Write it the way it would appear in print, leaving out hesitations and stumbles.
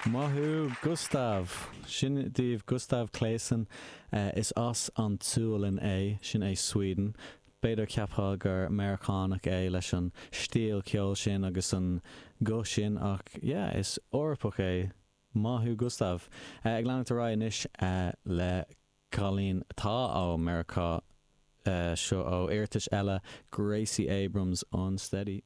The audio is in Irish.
Maith thú, Gustav! Sin daoibh Gustav Claesson. Is as an tSualainn é, sin é Sweden. B'fhéidir cheapfá gur Meiriceánach é leis an stíl ceoil sin agus an guth sin ach yeah, is Eorpach é. Maith thú Gustav. Ag leanacht ar aghaidh anois le cailín atá ó Meiriceá, seo ó iarratas eile, Gracie Abrams, Unsteady.